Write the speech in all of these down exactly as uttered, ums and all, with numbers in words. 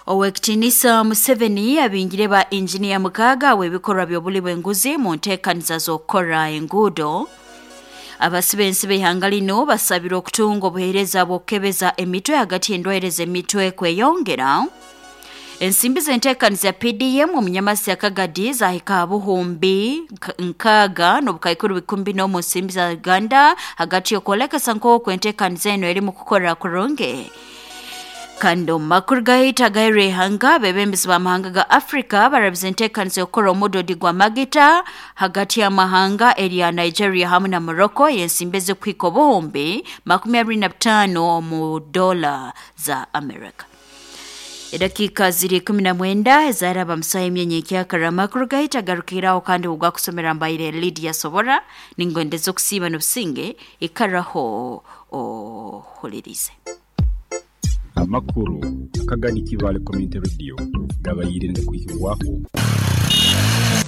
Owekitinisa Museveni abingire ba engineer mukaga w'ebikorwa by'obuli bw'enguzi mu nteekaniza z'okukora enguudo. Abasibe ensi b'ihanga lino basabirwa okutunga obuheereza bw'okukebeza emitwe hagati y'endwaire z'emitwe kweyongera. Ensimbi z'enteekaniza ya P D M omunyamasi ya Kagadi zahika buhumbi nkaaga n'obukaikuru bikumi bina omu nsimbi za Uganda hagati y'okwolekesa nk'oku enteekaniza eno erimu kukora kurungi. Kandi omu makuru gahita agaire ihanga, abebembezi b'amahanga ga Afrika barabize enteekaniza y'okukora omudodi gwa magita hagati y'amahanga erya Nigeria hamwe na Morocco y'ensimbi ezikuhika obuhumbi makumi abiri na bitaano omu dola za America. Edakika ziri kumi na mwenda ezaraba musaha emyenye ekyakara amakuru gahita agarukiraho kandi ogwakusomera mbaire Lydia Sobora ningondeza okusiiba n'obusinge ikaraho ohulirize. Amakuru Akagadi Kibale Community Radio gabayire ndakuhirwaho.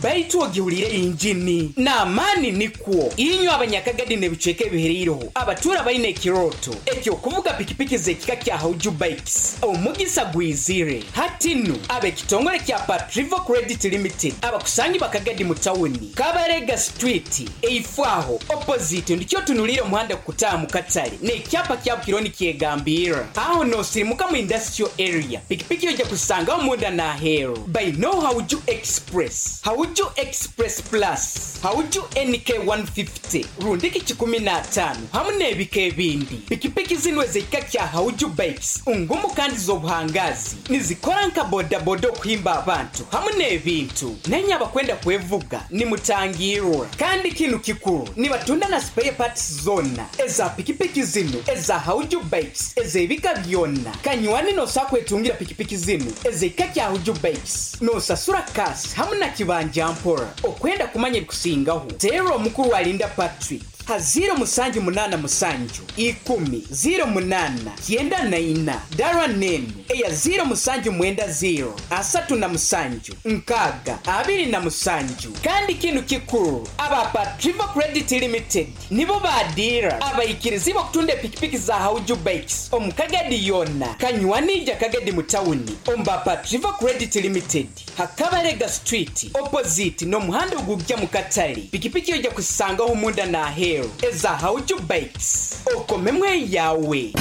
Baitu ogiwulire injini n'amaani nikwo inywe abanyakagadi n'ebicweka ebihereireho abatura baine ekiroto ekyokuvuga pikipiki z'ekika kya Hauju Bikes omugisa gwizire hati nnu ab'ekitongole kya Patrivo Credit Limited abakusangi bakagadi mu tawuni Kabarega Street eifwaho opposite ndikyo tunulire omuhanda kukutaaha mu katale n'ekyapa kya Bukironi kyegambira aho nosirimuka mu industrial area pikipiki ojja kusangaho munda n'aheeru by no Hauju Express Hauju Express Plus, Hauju N K one fifty, rundiki kikumi na ataano hamu n'ebika ebindi. Pikipiki zino ez'ekika kya Hauju Bikes ngumu kandi z'obuhangazi nizikora nka bodaboda okuhimba abantu hamu n'ebintu. Nenye abakwenda kwevuga nimutangirwa. Kandi kinu kikuru nibatunda na spare parts zonna eza pikipiki zino eza Hauju Bikes ez'ebika byonna. Kanywani nosa kwetungira pikipiki zino ez'ekika kya Hauju Bikes nosasura kasi hamu na kibanja mpora. Okwenda kumanya ebikusingaho teera omukuru wa Linda Patrick ha ziro musanju munana musanju ikumi ziro munana kyenda na ina dara nenu eya ziro musanju mwenda ziro asatu na musanju nkaaga abiri na musanju. Kandi kinu kikuru aba Patrivo Credit Limited nibo badira abaikirizi bakutunda pikipiki za Hauju Bikes omukagadi yonna kanywanija Kagadi mu tawuni omba Patrivo Credit Limited Hakabarega Street opposite n'omuhanda ogujja mu katale. Pikipiki ojja kusangaho munda na aheeru eza Hauju Bikes okomemwe yawe.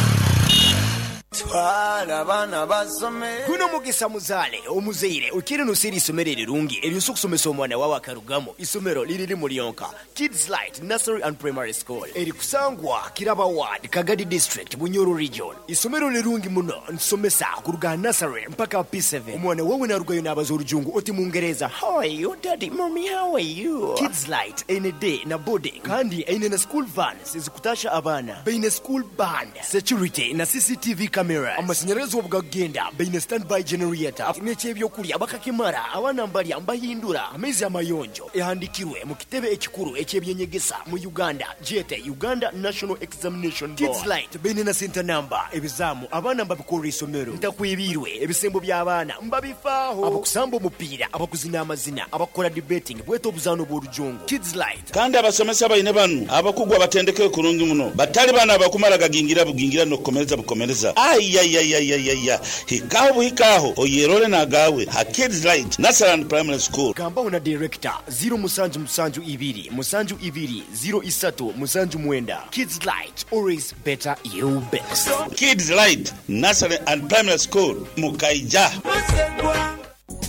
Twala abaana basome. Guno mugisa muzaale omuzaire okiri nosiri isomero erirungi eryosa okusomesa omwana wawe akarugamo. Isomero liriri Mulionka Kids Light Nursery and Primary School erikusangwa Kiraba Ward, Kagadi District, Bunyoro Region. Isomero lirungi muno nsomesa kuruga nursery mpaka P seven. Omwana wawe narugayo n'abaza orujungu oti Mungereza, how are you daddy, mommy, how are you? Kids Light ene day na boarding kandi ene na school vans ezikutasha abaana baine school band security na C C T V cameras. Amashanyarazi obugagenda baine standby generator n'ekyebyokulya bakakimara abaana mbalya mbahindura amaizi amayonjo ehandikirwe mu kitebe ekikuru ekyebyenyegesa mu Uganda jete Uganda National Examination Board. Kids Light baine na center number ebizamu abaana mbabikora isomero ntakwibirwe ebisembo by'abaana mbabifaaho abakusamba omupiira abakuzina amazina abakora debating bweta obuzaano bw'orujungu. Kids Light kandi abasomesa baine banu abakugwa batendeke kurungi muno batali bana abakumara gagingira bugingira n'okukomereza bukomereza. Ayayayayaya hikaho buhikaho oyerole nagawe ha Kids Light Nursery and Primary School. Gambaho na director zero musanju musanju ibiri musanju ibiri zero isatu musanju mwenda. Kids Light, always better you best. Kids Light Nursery and Primary School Mukaija.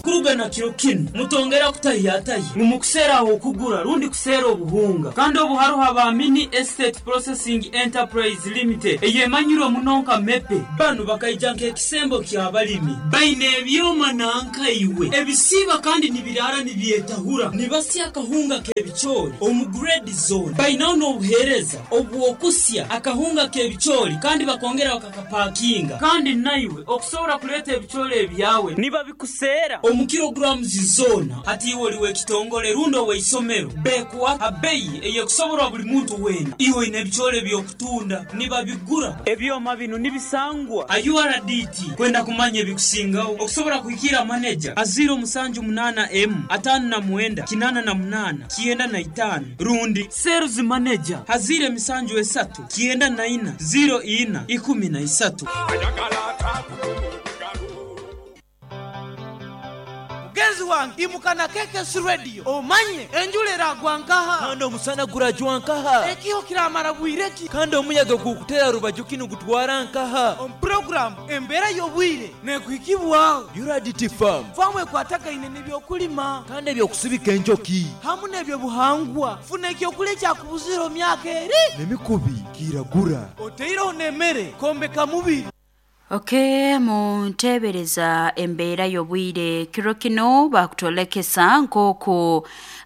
Kuruga na kiro kinu mutongera kutayatayi mumukusera aho kugura rundi kusera obuhunga kandi obuharuha ba Mini Estate Processing Enterprise Limited eyemanyiro munonka mepe banu bakaija nk'ekisembo ky'abalimi baine ebyoma nanka iwe ebisiba kandi nibirara nibyetahura nibasya akahunga k'ebicoori omu grade zone bainaho n'obuheereza obwokusya akahunga k'ebicoori kandi bakongera bakakapakinga kandi naiwe okusobola kuleeta ebicoori ebyawe nibabikusera omu kilograms zona hati iwe oliwe ekitongole rundo weisomero bekuwa abeyi eyekusoborwa buli muntu wena iwe ine ebicoori ebyokutunda nibabigura ebyoma bino nibisangwa a U R D T kwenda kumanya ebikusingaho okusobola kuhikira manager a zero musanju munana M atano na mwenda kinana na munana kienda na itano rundi sales manager hazire misanju esatu kienda na ina zero ina ikumi na isatu. Wange imuka na K K S Radio omanye enjura eragwa nkaha kandi omusana gurajwa nkaha ekiho kiramara bwireki kandi omuyaga gukutera rubaju kinu gutwara nkaha omu program embeera y'obwire nekuhikibwaho U R D T farm famu ekwatagaine n'ebyokulima kandi ebyokusibika enjoki hamu n'ebyobuhangwa funa ekyokulya kyakubuzira omyaka eri n'emikubi kiragura oteireho n'emmere kombeka mubiri. Okay, muntebereza embeera y'obwire kiro kino bakutolekesa nk'oku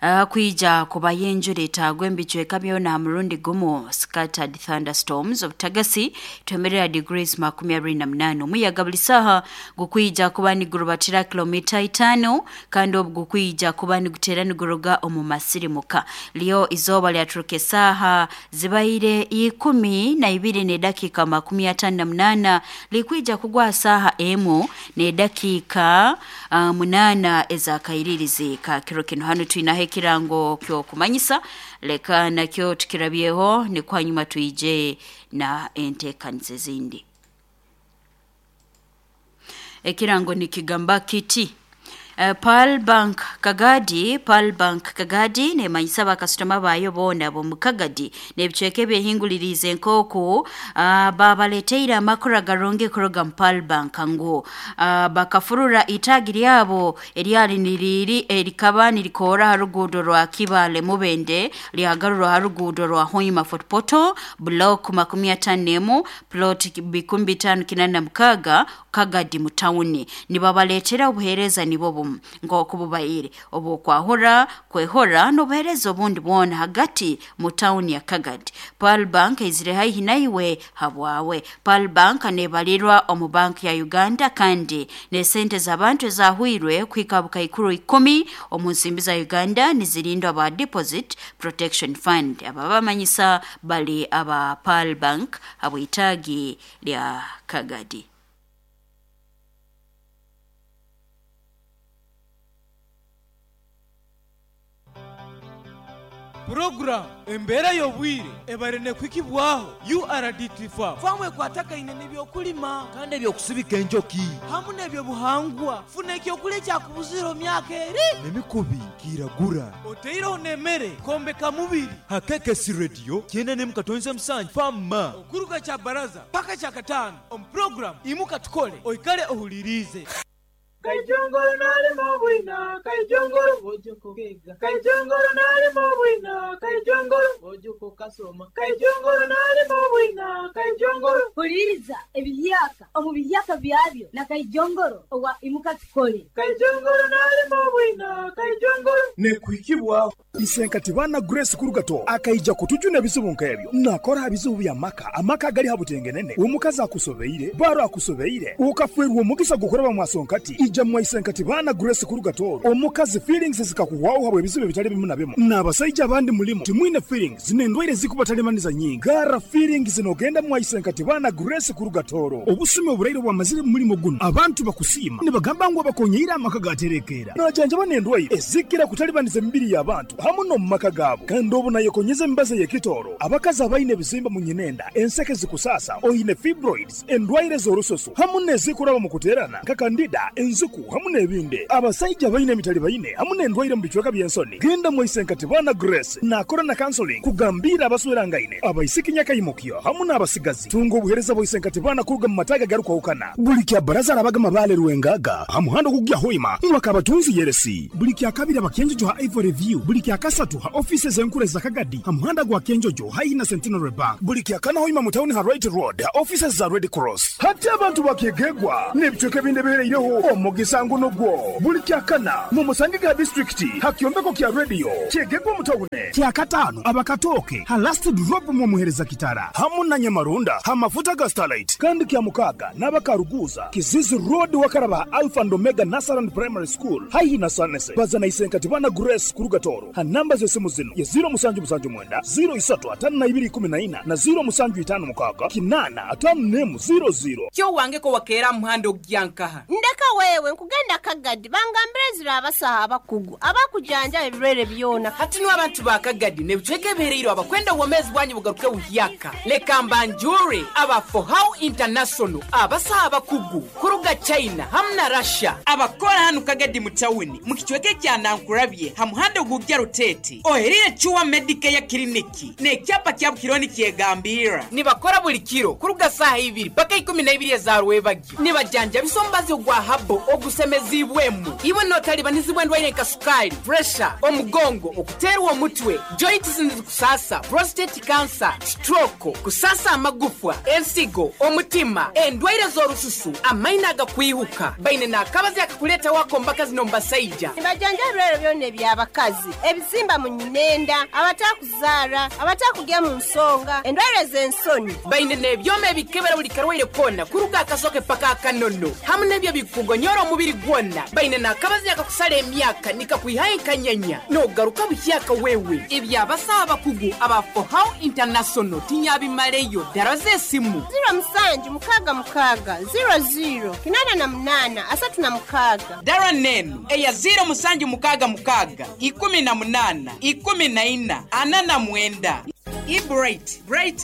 uh, kwija kubayo enjura etagwa embicweka byona murundi gumu scattered thunderstorms obutagasi twemerera degrees makumi abiri na munaana omuyaga buli saaha gukwija kuba nigurubatira kilomita itaano kandi obu gukwija kuba niguteera niguruga omu masirimuka lyo izooba lyaturuka esaaha zibaire ikumi na ibiri n'edakiika makumi ataano na munaana likwija kugwa saha emu n'edakiika uh, munana ezakairirizi ka kiro kino. Hano twinaho ekirango ky'okumanyisa leka nakyo tukirabyeho ni kwanyuma twije na enteekaniza ezindi. Ekirango nikigamba kiti Uh, Pearl Bank Kagadi, Pearl Bank Kagadi nemanyisa bakasitoma bayo bona bo mukagadi nebicweke byehingulirize nk'oku uh, babaleteire amakuru agarungi kuruga mu Pearl Bank ngu uh, bakafurura itagi lyabo eryali niriri erikaba nirikora ha ruguudo rwa Kibale Mubende lyagarurwa ha ruguudo rwa Hoima Fort Portal block makumi atano n'emu plot bikumi bitaano kinana na mukaga Kagadi mu tawuni nibabaletera obuheereza nibo bumu nk'oku bubaire obukwahura kwehora n'obuheereza obundi bwona hagati mu tawuni ya Kagadi. Pearl Bank ezire haihi naiwe habwawe. Pearl Bank nebalirwa omu banki ya Uganda kandi n'esente z'abantu ezahwirwe kuhika bukaikuru ikumi omu nsimbi za Uganda nizirindwa ba Deposit Protection Fund. Aba bamanyisa bali aba Pearl Bank habwitagi lya Kagadi. Program embeera y'obwire ebare nekwikibwaho U R D T farm famu ekwatagaine n'ebyokulima kandi ebyokusibika enjoki hamu n'ebyobuhangwa funa ekyokulya kyakubuzira omyaka eri n'emikubi kiragura oteireho n'emmere kombeka mubiri ha K K S Radio kyenda n'emu katonze musanju fama okuruga kya baraza paka kya kataano omu program imuka tukole oikale ohulirize. Kaijongoro nalimo bwina, kaijongoro ojoko kega. Kaijongoro nalimo bwina, kaijongoro ojoko kasoma. Kaijongoro nalimo bwina, kaijongoro. Huliriza ebiyaka omu biyaka byabyo na kaijongoro owa imuka tukole. Kaijongoro nalimo bwina, kaijongoro. Nekuhikibwa Isenkati bana Grace Kurugato akaija kutujuna ebizibu nk'ebyo nakora ebizibu bya maka amaka gali habutengenene omukazi akusobeire baro akusobeire ukafwerwa omugisa gukoraba mwasonkati ija mwaisenkati bana Grace Kurugato omukazi feelings zikakuwaho habwe ebizibu bitali bimu na bimu n'abasajja abandi mulimo timwine feelings n'endwaire zikubatalemaniza nyingi gara feelings zinogenda mwaisenkati bana Grace Kurugatoro obusumi oburaire bwamazire mu mulimo guno abantu bakusiima nibagamba ngu abakonyeire amaka gaterekera najanjaba n'endwaire ezikira kutalibaniza emibiri y'abantu hamu no mu maka gaabo kandi obu nayekonyeza emibazi ey'ekitooro abakazi abaine ebizimba mu nyinenda enseke zikusasa oine fibroids endwaire z'orususu hamu n'ezikuraba mu kuteerana nka kandida enzuku hamu n'ebindi abasajja baine emitali baine hamu n'endwaire mu bicweka by'ensoni genda mwaisenkati bana Grace nakora na counseling kugambira abaswerangaine abaisiki nyakayimukyo hamu n'abasigazi tunga obuheereza bwaisenkati bana kuruga mu mataga garukwahukana buli kya baraza arabaga mabale rwengaga ha muhanda ogugya Hoima mwakabatunzi yeresi buli kya kabiri abakenjojo ha Ivory View buli kya kasatu ha offices enkuru za Kagadi ha muhanda gwa Kenjojo haina Centenary Bank buli kya kana Hoima mu town ha Right Road ha offices za Red Cross hati abantu bakegegwa n'ebicweka ebindi bihereireho omugisa ngunugwo buli kya kana mu musange ga district ha kyombeko kya radio kyegegwa mu town kya katano abakatoke ha last drop mu muhereza kitara hamu na Nyamarunda ha mafuta ga Starlight kandi kya mukaga n'abakaruguza Kizizi Road wakaraba Alpha and Omega Nasaran Primary School haihi na Sanese bazana isenkati bana Grace Kurugatoro ha namba z'esimu zino ye ziro musanju musanju mwenda ziro isatu atano na ibiri ikumi na ina na ziro musanju itano mukaga kinana atano nemu ziro ziro Kyo wange ko wakeera muhanda ogyankaha ndeka wewe nkugenda Kagadi bangambire zira abasaha abakugu abakujanja ebirwere byona. Hati nu abantu ba Kagadi nebicweke ebihereire abakwenda obwomezi bwanyu bugaruke buhyaka. Leka mbanjure aba Fohow International abasaha abakugu kuruga China hamwe na Russia abakora hano Kagadi mu tawuni mu kicweke kya Nankurabye ha muhanda gugya Rutete oherire Chuwa Medicare Clinic n'ekyapa kya Bukironi kyegambira nibakora buli kiro kuruga saha ibiri paka ikumi na ibiri za rwebagyo nibajanja bisombazi gwa habo ogusemezibwemu iwe notalibanizibwa endwaire nka sukali, pressure, omugongo, okuterwa omutwe, joints kusasa, prostate cancer, stroke, kusasa amagufwa, ensigo, omutima, endwaire z'orususu, amaina agakwihuka. Baine n'akabazi akakuleta wako mbakazi nombasaija. Nibajanja ebirwere byona eby'abakazi, ebizimba mu nyinenda, abatakuzaara, abatakugya mu nsonga, endwaire z'ensoni. Baine n'ebyoma ebikebera buli karwaire kona kuruga akasoke paka akanono hamwe n'ebyo bikugonyora omubiri gwona. Baine n'akabazi akakusala emyaka nikakwihayo enkanyanya n'ogaruka buhyaka wewe. Ebyabasaha abakugu aba Fohow International tinyabimaleyo. Daraza esimu ziro musanju mukaga mukaga ziro ziro kinana na munana asatu na mukaga. Dara nenu eya ziro musanju mukaga mukaga ikumi na munana ikumi na ina ana na mwenda. I bright bright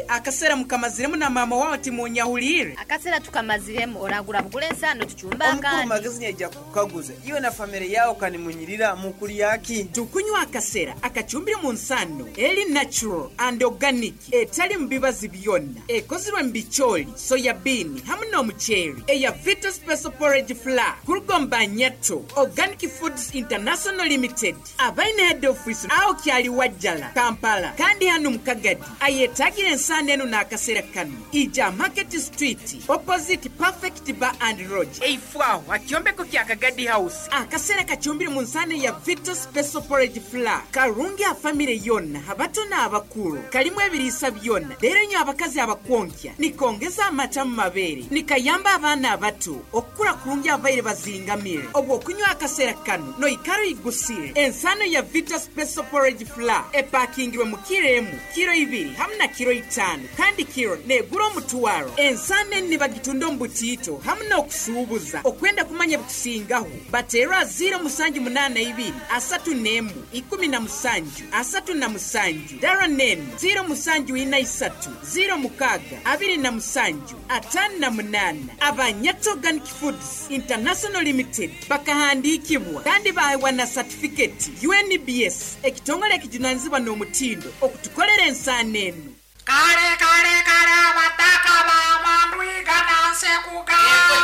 akasera mukamaziremu na mama wao timunyahulire akasera tukamaziremu oragura bugule ensano tuchumba kandi omukuru magezi nyaja kukaguza iwe na family yao kanimunyirira mukuri yaki. Tukunywa akasera akachumbire mu nsano eli natural and organic etali mbibazi byonna ekozirwe mbicholi soya bean hamwe n'omuceeri eya Vita Special Porridge Flour kurugomba Nyato Organic Foods International Limited abaine head office aho kyali Wajjala Kampala kandi hano Mukagadi ayetagire ensano eno n'akasera kano ija Market Street opposite Perfect Bar and Lodge eifwaho akyombeko kya Kagadi House. Akasera kachumbire mu nsano ya Vita Special Porridge Flour karungi a family yonna abato n'abakulu kalimu ebiriisa byonna leero nyo abakazi abakwonkya nikongeza amata mu mabeere nikayamba abaana abato okukula kurungi abaire bazingamire obwo okunywa akasera kano noikaro igusire. Ensano ya Vita Special Porridge Flour epakingirwe mu kiro emu kiro ibiri hamwe na kiro itano kandi kiro negura omutwaro. Ensano nibagitunda omu butiito hamwe n'okusuubuza okwenda kumanya bukusingaho bateera ziro musanju munana ibiri asatu n'emu ikumi na musanju asatu na musanju. Dara nenu ziro musanju ina isatu ziro mukaga abiri na musanju atano na munana. Abanyato Organic Foods International Limited bakahandikibwa kandi bahewa na certificate U N B S ekitongole ekijunanizibwa n'omutindo okutukolera ensano eno. Kale kale kale abataka bamandwiga nanse kugamba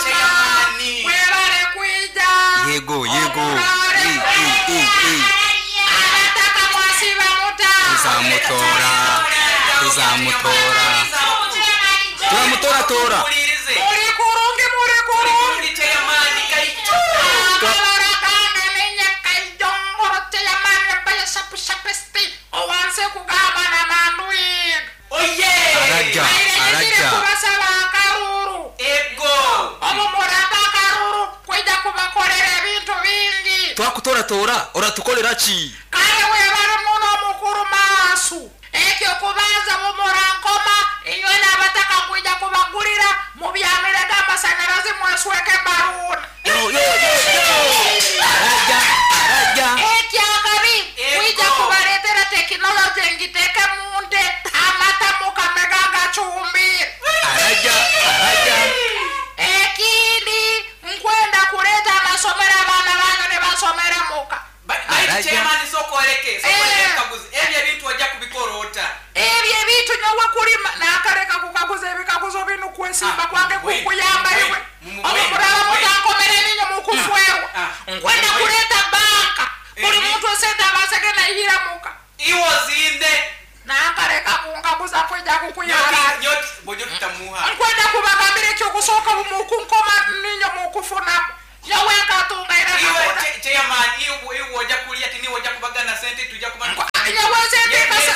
webale kwija yego yego e, e, e, e. Abataka mwasiba muta tuzamutora tuzamutora turamutora tora muri kurungi muri kurungi abalora kange ninye kayongoro teyamani mbaya shapu shapesti owanse kugamba na mandwiga. Oye! Araja, araja. Kubasaba akaruru. Ego. Omu muraba akaruru kwija kubakolera ebintu bingi. Twakutora tora, oratukolera ki? Kale webale muno mukuru maasu. Ekyo kubanza mumurankoma inywe n'abataka kwija kubagulira mubyamire g'amasanyalazi mwesweke baruuna. Yo yo yo yo. Araja, araja. Ekyakabi kwija kubaletera tekinologi ngiteke munde amata mukamega gachumbire. Araja, araja. Ekindi nkwenda kuleta amasomero abaana banyu ne basomera muka. Chairman sokoleke sokoleke kaguzi ebyo ebintu wajja kubikora ota ebyo ebintu nyowe kulima nakaleka kukaguza ebikaguzo bino kwesimba kwange kukuyamba iwe omulala mutankomera eninyo mukufwewa nkwenda kuleta banka buli muntu esente abasegenda ihira muka iwo zinde nakaleka kunkaguza kwijja kukuyamba bojo tutamuha nkwenda kubagambira ekyokusooka mukunkoma ninyo mukufunamu yowe nkatunga ira iwe chairman iwe iwe wajja kulia tini wajja kubagana sente tujja kubana yowe sente kasa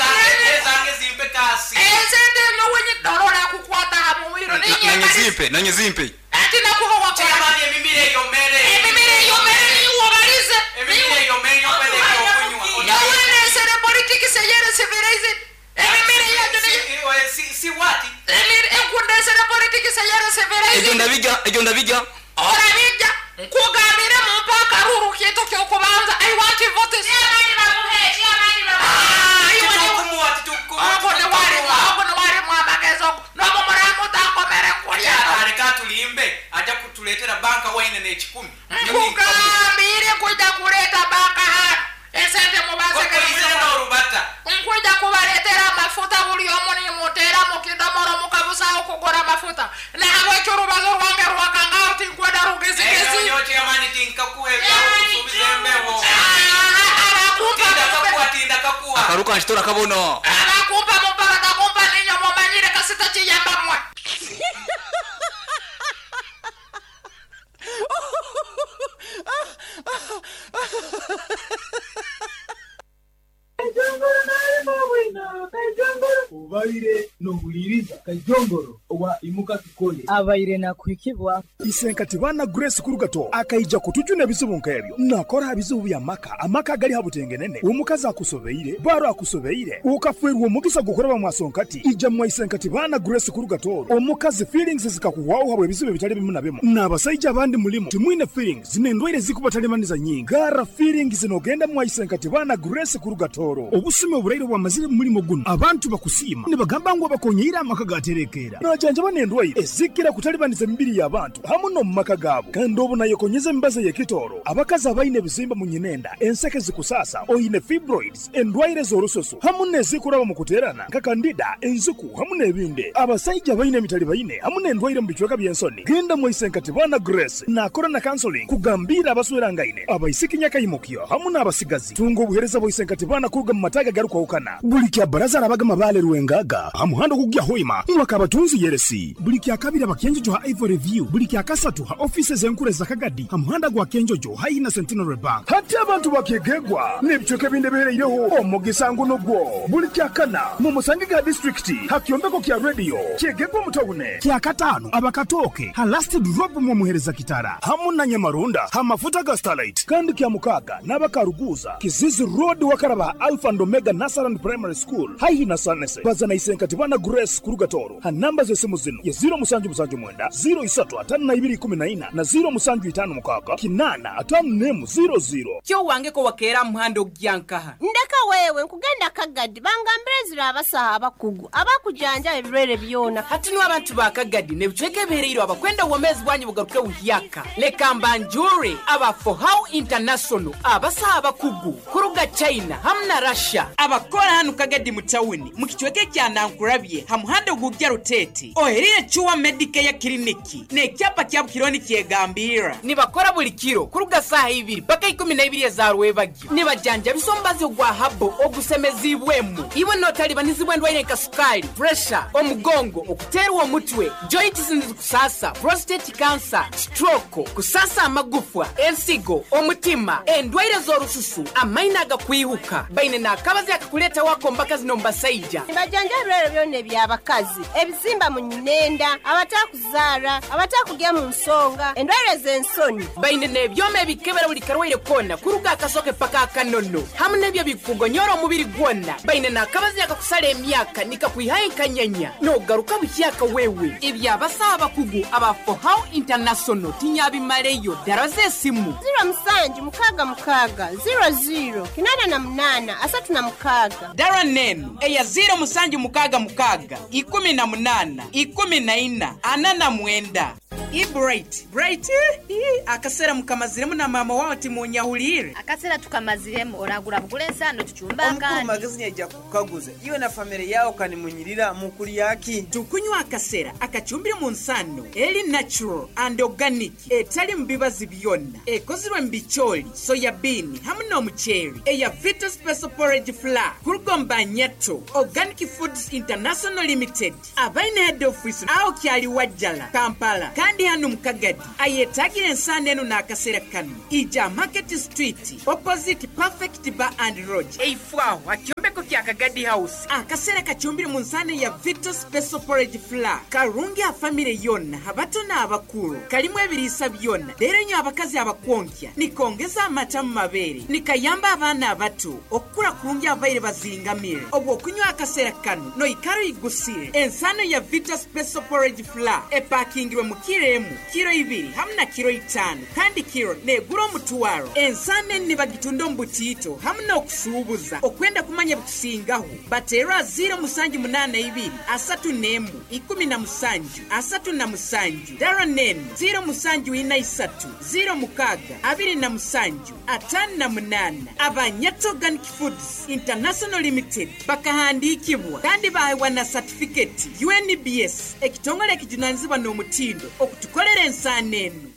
zange zimpe kasi esente yowe nyidorola kukwata hamumiro ninye nanye zimpe nanye zimpe ati nakuwa wakora chairman emimire yomere emimire yomere niwo balize emimire yomere yopele yokunywa yowe nesere politics yere civilize emimire yanyu ni si si wati emire enkundesere politics yere civilize ejo ndabiga ejo ndabiga Orabijja nkugambire mumpe akaruru kintu kyokubanza. I want votes. Ah, iwe ni- Ogwo newalimu ogwo newalimu amagezi ogwo n'omumuramu nkulya. Aleka tulimbe, ajja kutuleetera banka waine n'ekikumi. Nkugambire nkwija kuleeta banka hano esente Okoizire n'orubata. Nkwija kubaleetera amafuta buli omu nimuteera mu kidomolo mukabusaho kugura amafuta nahabwekyo orubazo rwange rwakangaho tinkwenda rugezigezi. Nyokyamani tinkakuha ebyakusuubiza embeho. Abakumpa Tindakakuha, tindakakuha. Akaruka nkitora kabono. Abakumpa mumpa batakumpa ninyo mumanyire kasita kiyamba mwe. Obaire nohuliriza Kajongoro owa Imuka Tukole abaire nakuhikibwa. Isenkati bana Grace Kurugato akaija kutujuna ebizibu nk'ebyo nakora bizibu bya maka amaka agali habutengenene omukazi akusobeire baro akusobeire ukafwerwa omugisa gukoraba mwasonkati ija mwa Isenkati bana Grace Kurugato omukazi feelings zikakuwaho habwe ebizibu ebitali bimu na bimu n'abasajja abandi mulimu timwine feelings n'endwaire zikubatalibaniza nyingi gara feelings nogenda mwa Isenkati bana Grace Kurugatoro obusime oburaire bwamazire mu mulimo guno abantu bakusiima nibagamba ngu abakonyeire amaka gaterekeera najanjaba n'endwaire ezikira kutalibaniza emibiri y'abantu hamu n'omu maka gaabo kandi obu nayekonyeza emibazi ey'ekitooro abakazi abaine ebizimba mu nyinenda enseke zikusasa oine fibroids endwaire z'orususu hamu n'ezikuraba mu kuteerana nka kandida enziku hamu n'ebindi abasajja abaine emitali baine hamu n'endwaire mu bicweka by'ensoni genda mu Isenkati bana Grace nakora na counseling kugambira abaswerangaine abaisiki nyakaimukyo hamu n'abasigazi tunga obuhereza bwa Isenkati bana kuruga mu mataga garukwahukana buli kya baraza arabaga mabale rwengaga hamuhando kugya hoima mwakabatunzi yeresi buli kya kabiri abakenjojo ha Ivory View buli kya kasatu ha offices enkure za Kagadi hamuhanda gwa Kenjojo hayi na Centenary Bank hati abantu bakegegwa n'ebicweka ebindi ebihereireho omugisa nguno gwo buli kya kana mu musange ga district hakyombeko kya radio kyegegwa mutawune kya katano abakatoke ha last drop mu muhereza kitara hamu na Nyamarunda ha mafuta ga Starlight kandi kya mukaga n'abakaruguza Kizizi Road wakaraba Alpha and Omega Nasaran Primary School haihi na Sanese bazana Isenkati bana Grace Kurugatoro ha namba z'esimu zino ya zero musanju musanju mwenda zero isatu atano na ibiri ikumi na ina na zero musanju itano mukaga kinana atano nemu zero zero. Kyo wangeko wakeera muhando ogyankaha. Ndeka wewe nkugenda Kagadi bangambire zira abasaha abakugu abakujanja ebirwere byona. Hati niwe abantu ba Kagadi n'ebicweka ebihereire abakwenda obwomeezi bwanyu bugaruke buhyaka leka mbanjure aba For How International abasaha abakugu kuruga China hamu na Russia abakora hanu Kagadi mu tawuni mu kicweka ekya Nankurabye ha muhanda ogujja Rutete oherire Chuwa Medicare Clinic n'ekyapa kya Bukironi kyegambira nibakora buli kiro kuruga saaha ibiri paka ikumi na ibiri eza rwebagyo nibajanja bisombazi ogwa habo ogusemezibwemu iwe notalibanizibwa endwaire nka sukali pressure omugongo okuteerwa omutwe joints nizikusasa prostate cancer stroke kusasa amagufwa ensigo omutima endwaire z'orususu amaina agakwihuka baine n'akabazi akakuleeta wako mbaka zino mbasaija. Nibajanja ebirwere byona eby'abakazi ebizimba mu nyinenda abatakuzaara abatakugya mu nsonga endwaire z'ensoni baine n'ebyoma ebikebera buli karwaire kona kuruga akasoke paka akanono hamu n'ebyo bikugonyora omubiri gwona baine n'akabazi akakusala emyaka nikakwihayo enkanyanya n'ogaruka buhyaka wewe ebyabasaha abakugu aba For How International tinyabimaleyo ddala z'esimu zero musanju mukaaga mukaaga zero zero kinana na munana asatu na mukaaga. Dara nenu eya zero musanju mukaaga mukaaga ikumi na munana ikumi na ina ana na mwenda. Ibright Bright akasera mukamaziremu na mama wawe timunyahulire. Akasera tukamaziremu oragura bugule ensano tuchumba Omukuru akandi. Magezi nyaija kukaguza iwe na family yao kanimunyirira mukuli yaki. Tukunywa akasera akachumbire mu nsano eri natural and organic etali mu bibazi byonna ekozirwe mu bicholi soya bean hamu n'omuceeri eya Vita Special Porridge Flour kurugomba Nyato Organic Foods International Limited abaine head office aho kyali Wajjala Kampala kandi hano mu Kagadi ayetagira ensano eno n'akaseera kano ija Market Street opposite Perfect Bar and Lodge eifwaho akyombeko kya Kagadi House. Akaseera kacumbire mu nsaano ya Vito Special Porridge Flour. Karungi a famire yonna, abato n'abakulu. Kalimu ebiriisa byonna. Leero nnyo abakazi abakwonkya. Nikongeza amata mu mabeere. Nikayamba abaana abato okukula kulungi abaire bazingamire. Obw'okunywa akaseera kano noikara oyigusire. Ensaano ya Vito Special Porridge Flour epakingirwe mu kiro emu, kiro ibiri hamu na kiro itaano kandi kiro negura omutwaro. Ensaano eni bagitunda omu butiito hamu n'okusuubuza. Okwenda kumanya bikusingaho bateerwa ziro musanju munaana ibiri asatu n'emu ikumi na musanju asatu na musanju dara n'emu ziro musanju ina isatu ziro mukaaga abiri na musanju ataano na munaana. Abanyato Organic Foods International Limited bakahandiikibwa kandi baheebwa na satifiketi U N B S ekitongole ekijunanizibwa n'omutindo okutukolera ensaano enu.